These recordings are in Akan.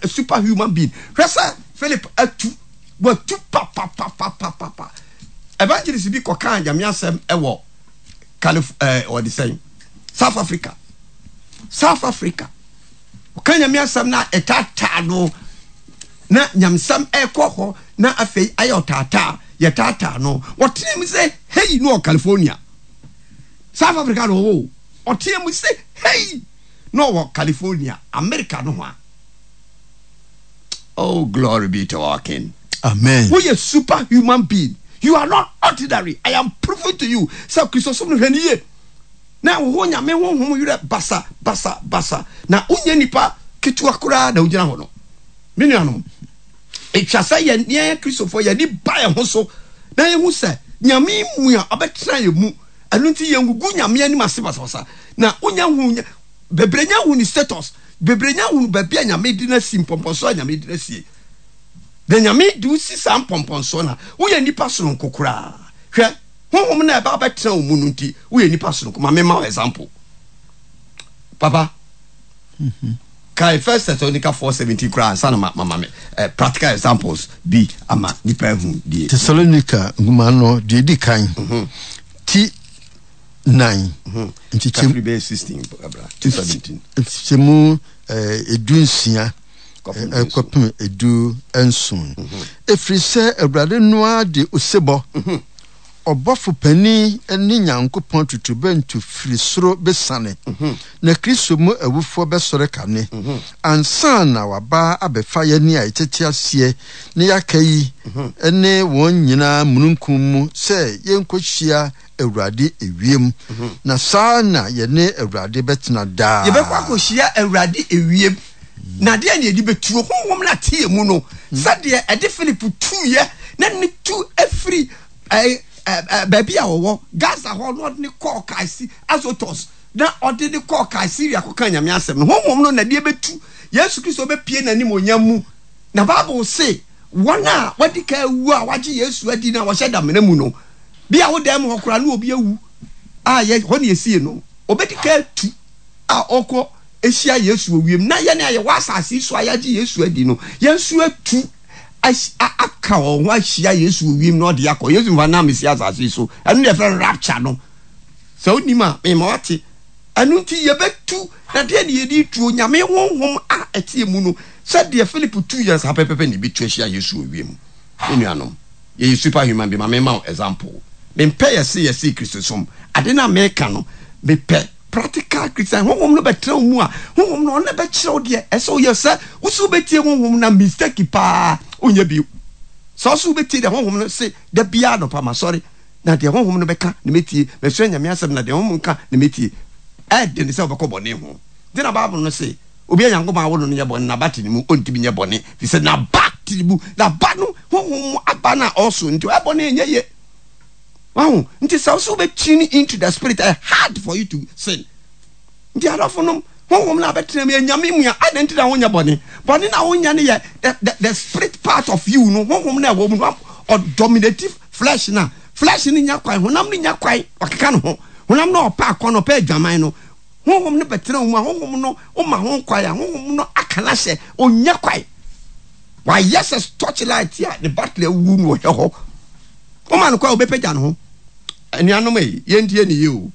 a super human being. Hwɛ sɛ Philip atu, watu papapapapapa. Evangelist bi kɔkaa Nyame asɛm wɔ Calif ɛɛ wɔde sɛn South Africa. South Africa. Ɔka Nyame asɛm na ɛtaataa no na nyamesɛm ɛkɔ hɔ na afei ayɛ ɔtaataa yɛtaataa no. Wɔteɛ mu sɛ hei no wɔ California. South Africa na ɔwɔ o. Ɔteɛ mu sɛ hei na ɔwɔ California, America nohoa. Oh, glory be to our King. Amen. Woyɛ super human being. You are not ordinary. I am proving to you. Sɛ Kristosom no hwɛ no yie. Na wo ho Nyame honhom werɛ basa basa basa. Na wonyɛ nipa ketewa koraa na wogyina hɔ no. Me nuanom, etwa sɛ yɛn yɛn Kristofoɔ yɛn ani ba yɛn ho so na yɛhu sɛ Nyame mu a ɔbɛtena yɛn mu. Ɛno nti yɛngugu Nyame anim ase basabasa. Na wonya hu bebree nya hu ne status. Bebree nya hunu baabi a Nyame de no asi, mpɔmpɔnsoɔ a Nyame de no asie. Na Nyame de wo si saa mpɔmpɔnsoɔ no a, woyɛ nipa sononko koraa. Hwɛ, Honhom no a ɛba abɛtena wo mu no nti, woyɛ nipa sononko. Ma memma wo example. Papa, kae First Thessalonica 4:17 koraa ansa na ma ma me eh, practical examples bi ama nipa ahu deɛ. Thessalonica nwoma no deɛ edi kan, ti nan nkyekyɛmu nkyekyɛmu 16 kɔpem 17. Ɛfiri sɛ Awurade no ara de osebɔ, ɔbɔfo panin ne Nyankopɔn totorobɛnto firi soro bɛsiane, na Kristo mu awufoɔ bɛsɔre kane, ansa na waba abɛfa yɛn a yɛtete aseɛ na yɛaka yi ne wɔn nyinaa mununkum mu sɛ yɛnkɔhyia Awurade ewiem, na saa ara na yɛne Awurade bɛtena daa. Yɛbɛkɔ akɔhyia Awurade ewiem, na deɛn na yɛde bɛtuo? Honhom no ate yɛn mu no, sɛdeɛ ɛde Philip tuiɛ, na ne tu afiri baabi a ɔwɔ, Gaza hɔ, na ɔde ne kɔɔ Kaisi, Azotus, na ɔde ne kɔɔ Kaesarea kɔkaa Nyame asɛm no. Honhom no na ɛde bɛtu. Yesu Kristo bɛpue n'animuonyam mu. Na Bible se, wɔn a wɔadi kan awu a wɔagye Yesu adi na wɔhyɛ damena mu no, Bi a wo dan mu hɔ koraa na obi awu a yɛ hɔ na yɛsie no. Obedi kan atu a ɔkɔ hyia Yesu wɔ wiem na yɛn a yɛwɔ asase yi so a yɛagye Yesu adi no, yɛn nso atu aka wɔn ho ahyia Yesu wɔ wiem na ɔde akɔ. Yesu mfa nam si asase yi so. Ɛno na yɛfrɛ no rapture no. Sɛ wonim a, mema wate. Ɛno nti yɛbɛtu, na deɛ ne yɛde tu Onyame honhom a ɛteɛ mu no, sɛdeɛ Philip tu yɛn saa pɛpɛpɛ na yɛbɛtu ahyia Yesu wɔ wiem. Me nuanom. Yɛyɛ super human being ma me ma wo example mempɛ yɛse yɛse kristosom ade no a meka no mepɛ practical Christian honhom no bɛtena wo mu a honhom no ɔno na bɛkyerɛ wo deɛ ɛsɛ woyɛ sɛ wo so wobɛtie honhom na mistake paa wonyɛ bio sɛ wo so wobɛtie deɛ honhom no se da biara nɔpa masɔre na deɛ honhom no bɛka na mɛtie masua nyame asɛm na deɛ honhom ka na mɛtie ɛde ne sɛ wobɛkɔ bɔne ho nti na Bible no se Obi a Nyankopɔn awo no no nyɛ bɔne, n'aba te ne mu, ontumi nyɛ bɔne, efisɛ n'aba te ne mu. N'aba no, honhom mu aba no a ɔresow no nti, ɔyɛ bɔne a ɛnyɛ ye. Wahu? Nti sɛ wo sɛ wobɛ tune into the spirit, ɛyɛ hard for you to sin. Nti adɔfonom, honhom no a bɛtena mu yɛ Nyame mu a, adɛn nti na wonyɛ bɔne? Bɔne no a wonyɛ no yɛ the, the, the spirit part of you no, honhom no a ɛwɔ mu no, ɔdominate flesh no a, flesh no nya kwan, honam no nya kwan, ɔkeka ne ho. Honam no a ɔpɛ akɔnnɔ, ɔpɛ adwaman no, Honhom no bɛtena wo mu a, Honhom no woma ho kwan a, Honhom no aka no ahyɛ, ɔnnya kwan. Wayɛ sɛ torchlight a ne battery awu no ɔhwɛ hɔ. Woma no kwan a, ɔbɛpagya ne ho. Anuanom ei, yɛntie ne yie o.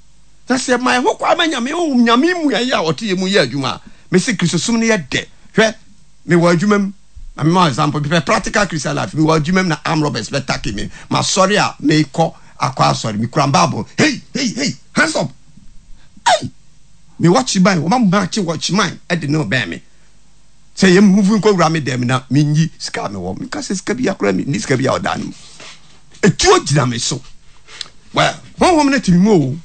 Na sɛ yɛma yɛn ho kwan ma Nyame Honhom, Nyame mmuaeɛ a ɔte yɛn mu yɛ adwuma a, mese Kristosom no yɛ dɛ. Hwɛ, mewɔ adwuma mu, ma mema wo example, mepɛ practical Christian life, mewɔ adwuma mu na armed robbers bɛtake me, masɔre a mekɔ akɔ asɔre, mekura Bible, hey, hey, hey, hands up! Ei! Me watchman, wɔma makye watchman de ne bɛn me. Sɛ yɛ move nkɔ wura me dɛm na menyi sika a mewɔ. Meka sɛ sika bi akora me, ni sika bi a ɔda no mu. Etuo gyina me so. Well, honhom no te me mu o.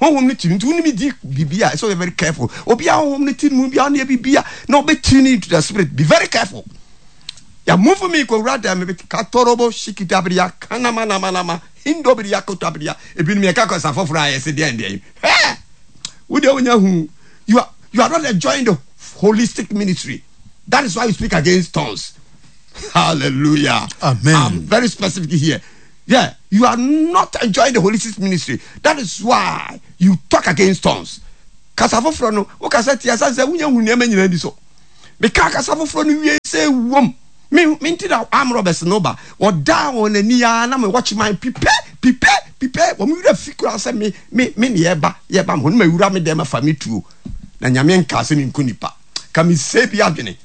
Honhom no te me nti wo ne me di biribi a ɛsɛ ɔyɛ very careful. Obi a honhom no te ne mu bi a ɔne biribi a na ɔbɛ tune into the spirit. Be very careful. Ya move me kɔ wura dɛm me katorobo shikidabriya kanamanamanama. Hindobiriya kotabiriya ebinom yɛka kasa foforɔ a yɛse deɛn deɛn hɛ wo deɛ wonya hu you are you are not enjoying the holistic ministry that is why you speak against tongues hallelujah amen I'm very specific here yeah you are not enjoying the holistic ministry that is why you talk against tongues kasa foforɔ no wokasa tia sane sɛ wonya hu nneɛma nyinaa bi so. Mekaa kasa foforɔ no wiei sɛ wom. Me, me nti na armed robbers no ba. Wɔdaa wɔn ani ara na me watchman pipe, pipe, pipe. Wɔn werɛ fi koraa sɛ me, me, me ne yɛreba, yɛreba me hɔ no mawura me dɛm afa me tuo. Na Nyame nkaa sɛ menku nipa. Ka me sɛe bi adwene.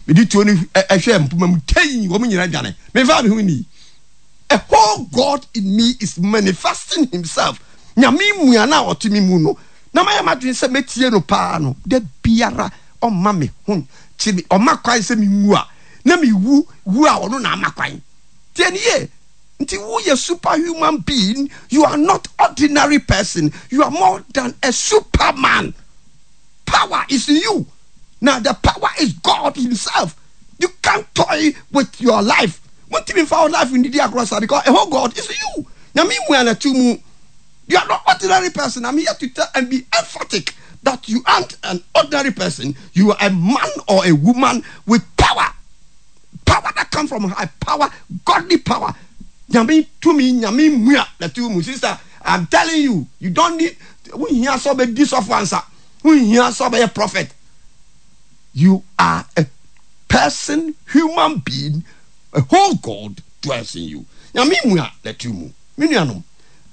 Mede tuo no hwɛɛ mpoma mu tei, wɔn nyinaa dwane. Memfaa me ho nnii. A whole God in me is manifesting himself. Nyame mua no a ɔte me mu no, na mayɛ m'adwene sɛ mɛtie no paa no, da biara ɔmma me ho nkye me, ɔma kwan sɛ menwu a, na mewu wu a ɔno na ama kwan. Tie no yie. Nti woyɛ superhuman being, you are not ordinary person, you are more than a superman. Power is in you. Now the power is God himself. You can't toy with your life. Wontumi mfa wo life ndidi agorɔ saa because a whole God is in you. Nyame mu a na ɛte mu. You are not ordinary person. I'm here to tell and be emphatic that you aren't an ordinary person. You are a man or a woman with power. Power that come from high power, godly power. Nyame tumi, nyame mu a na ɛte mu. Sister, I'm telling you, you don't need wohia sɛ ɔbɛdi sɔfo ansa. Wohia sɛ ɔbɛyɛ prophet. You are a person, human being, a whole God dwells in you. Nyame mu a na ɛte mu. Me nuanom,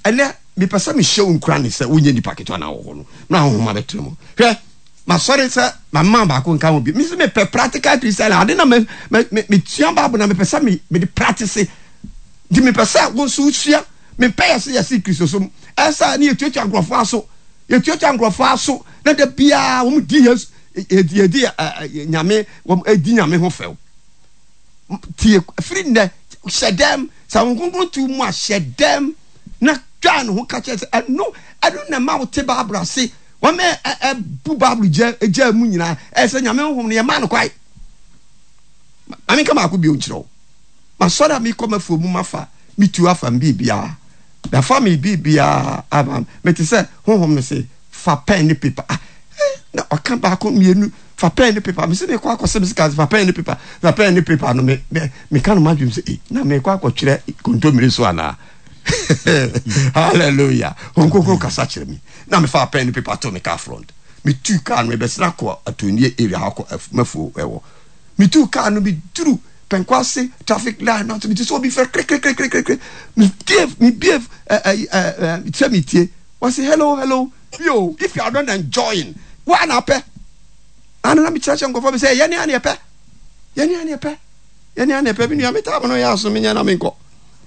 ɛnɛ mepɛ sɛ mehyɛ wo nkuran sɛ wonyɛ nipa ketewa na wɔ hɔ no, na honhom abɛtena mu. Hwɛ, masɔre sɛ mama baako nka ho bi. Mese mepɛ practical Christian ade na me me me metua Bible na mepɛ sɛ me mede practice. Nti mepɛ sɛ wo nso wosua. Mepɛ yɛse yɛse Kristosom. Ɛsɛ ne yɛtuatua nkurɔfoɔ aso. Yɛtuatua nkurɔfoɔ aso na da biara wɔn di Yesu yɛdi nyame wɔn di nyame ho fɛw. Tie firi nnɛ hyɛ dɛm sɛ wɔn kronkron tu mu a hyɛ dɛm na twa ne ho ka kyerɛ sɛ ɛno ɛno na ɛma wote Bible ase. Wɔn ɛbu Bible gya gya mu nyinaa ɛsɛ nyame honhom no yɛmaa no kwae. Maame nka baako bio nkyerɛ wo. Masɔre a mekɔ m'afuo mu mafa me tuo afa me biribiara. Mafa me biribiara ama mete sɛ honhom no se fa pɛn ne paper. Ah, eh, na ɔka baako mmienu fa pɛn ne paper. Mese mekɔ akɔsɛ me sika fa pɛn ne paper. Fa pɛn ne paper no me me meka no m'adwene sɛ eh, na mekɔ akɔtwerɛ kontommire so anaa? Hallelujah. Honhom Kronkron kasa kyerɛ me. Na mefa pɛn ne paper to me car front. Metu car no mebɛsena kɔ Atonie area hɔ akɔ m'afuo ɛwɔ. Metuu kaa no meduru Pɛnkwase traffic light no ase mete sɛ obi frɛ krekrekrekrekre metie mebie ɛ sɛ metie wɔse hello hello yo if you are not enjoying woa na apɛ ana na mekyerɛkyerɛ nkurɔfoɔ bi sɛ yɛne a ne yɛpɛ yɛne a ne yɛpɛ yɛne a ne yɛpɛ me nua metaa mo no yɛ aso menyɛ na menkɔ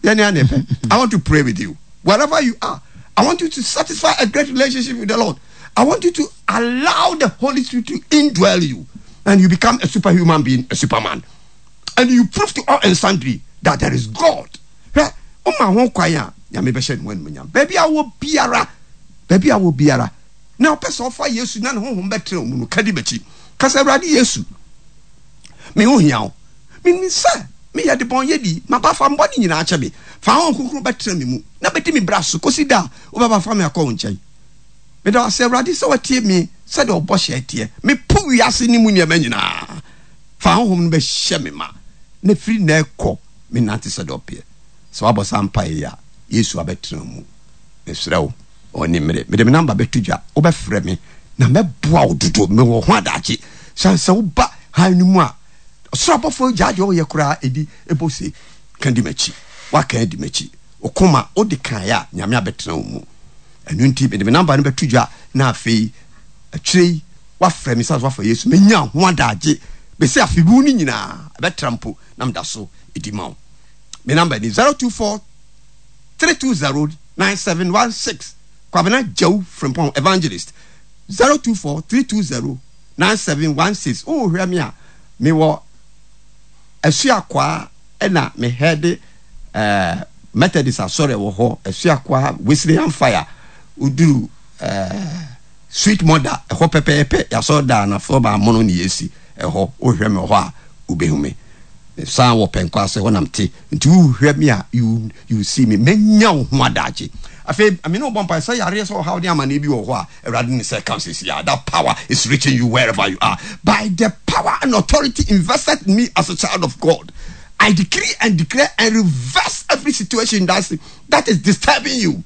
yɛne a ne yɛpɛ I want to pray with you wherever you are I want you to satisfy a great relationship with the Lord I want you to allow the Holy Spirit to indwell you and you become a superhuman being, a superman. And you prove to all and sundry that there is God. Hwɛ, woma ho kwan a, Nyame bɛhyɛ ne ho animuonyam. Baabi a wɔ biara, baabi a wɔ biara, na wopɛ sɛ ɔfa Yesu na ne honhom bɛtena wo mu no, ka di m'akyi. Ka sɛ, Awurade Yesu, me ho hia wo. Menim sɛ meyɛ debɔnyɛni, maba fa me bɔne nyinaa kyɛ me. Fa Honhom Kronkron bɛtena me mu na bɛdi me bra so kɔsi da a wobɛba fa me akɔ wo nkyɛn. Meda wo ase, Awurade, sɛ woatie me sɛdeɛ wo bɔhyɛ teɛ. Mepo wiase no mu nneɛma nyinaa. Fa Honhom no bɛhyɛ me ma, na firi nnɛ rekɔ, mennante sɛdeɛ ɔpeɛ. Sɛ woabɔ saa mpaeɛ yi a, Yesu abɛtena wo mu. Mesrɛ wo, ɔnni mmere. Mede me namba bɛto dwa, wobɛfrɛ me, na mɛboa wo dodo. Mewɔ ho adagye. Sane sɛ woba hann no mu a, ɔsoro abɔfoɔ gyaa deɛ ɔyɛ koraa ɛdi bɔ se, Ka di m'akyi. Woaka adi m'akyi. Wo koma, wode kaeɛ a, Nyame abɛtena wo mu. Ɛno nti, mede me namba no bɛto dwa na afei akyire yi woafrɛ me sane sɛ woafa Yesu. Mɛnya ho adagye bɛsi afe mu no nyinaa, ɛbɛtra mpo na meda so di ma wo. Me namba ni 024 320 9716 Kwabena Gyau Frimpong Evangelist 024 320 9716 Wohwɛ me a, mewɔ Asuakwaa na me head eh, Methodist asɔre wɔ hɔ, Asuakwaa Wesleyan Fire, woduru eh, Sweet Mother, ɛhɔ pɛpɛɛpɛ, yɛasɔre daa na fɔba amono ne yɛsi ɛhɔ, wohwɛ me wɔ hɔ a, wobɛhu me. San wɔ pɛnkɔ ase hɔ na mete, nti wohwɛ me a, you, you see me, mɛnya wo ho adagye. Afei, me ne wo bɔ mpae sɛ yareɛ sɛ ɔhaw ne amanneɛ bi wɔ hɔ a, Awurade ne sɛ ka sɛsi a, that power is reaching you wherever you are. By the power and authority invested in me as a child of God, I decree and declare and reverse every situation that's, that is disturbing you.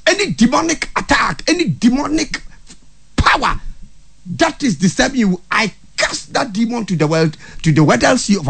Any demonic attack, any demonic power that is disturbing you, I cast that demon to the world, to the Weddell Sea of